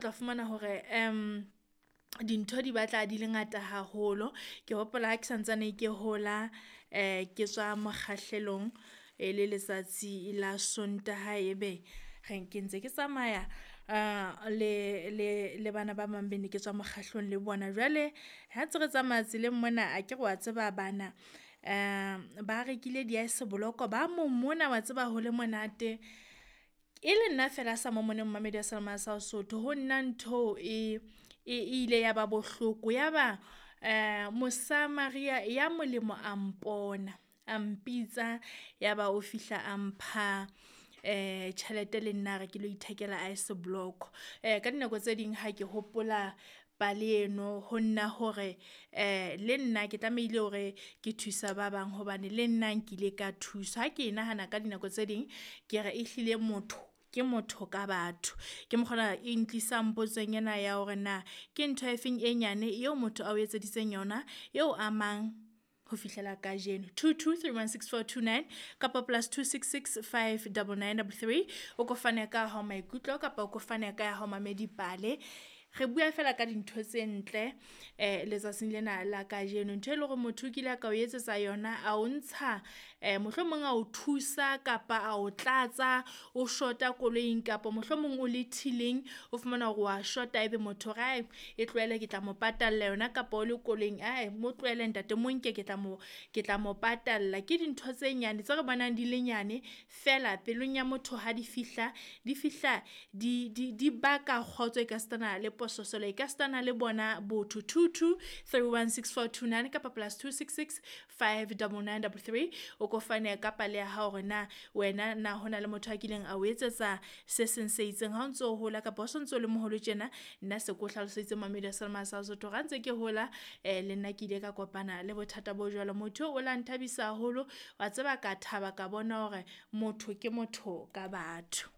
Tla fumana hore dintho di batla di le ngata haholo. Ke hopola ha ke santsane ke hola ke tswa mokgahlelong e le letsatsi la Sontaha, ebe re ke ntse ke tsamaya le bana ba bang be ne ke tswa mokgahlelong le bona. Jwale ha ntse re tsamaya tseleng mona, akere wa tseba bana ba rekile di-ice block ba momona wa tseba ho le monate. E le nna feela a sa momoneng momamedi wa seyalemoya sa Sesotho ho nna ntho e ile ya ba bohloko. Yaba Mosamaria ya molemo a mpona a mpitsa, yaba o fihla a mpha tjhelete le nna a re ke lo ithekela ice block. Ka dinako tse ding ha ke hopola pale eno ho nna hore le nna ke tlamehile hore ke thusa ba bang hobane le nna nkile ka thuswa. Ha ke e nahana ka dinako tse ding, ke re ehlile motho ke motho ka batho. Ke mokgwa ona e ntlisang potsong ena ya hore na ke ntho efeng e nyane eo motho ao etseditseng yona eo amang ho fihlela kajeno? 22316429 kapa +266 599 33. O ko fane ka hao maikutlo kapa o ko fane ka ya hao mamedi pale. Re bua fela ka dintho tse ntle letsatsing lena la kajeno. Ntho e leng hore motho o kile a ka o etsetsa yona, a o ntsha mohlomong a o thusa kapa a o tlatsa o shota koloing kapa mohlomong o le till-ing, o fumana hore wa shota ebe motho o re e tlohele ke tla mo patalla yona kapa o le koloing ae mo tlohele ntate mo nke ke tla mo ke tla mo patalla. Ke dintho tse nyane tse re bonang di le nyane feela pelong ya motho ha di fihla, di fihla di baka kgotso ekasitana le pososelo ekasitana le bona botho. 22316429 kapa +266 599 33. O ko fane ka pale ya hao hore na wena na hona le motho a kileng a o etsetsa se seng se itseng ha o ntso hola kapa o sontso o le moholo tjena. Nna se ko hlaloseditse momamedi wa seyalemoya sa Sesotho hore ha ntse ke hola le nna ke ile ka kopana le bothata bo jwalo. Motho eo o la nthabisa haholo wa tseba, ka thaba ka bona hore motho ke motho ka batho.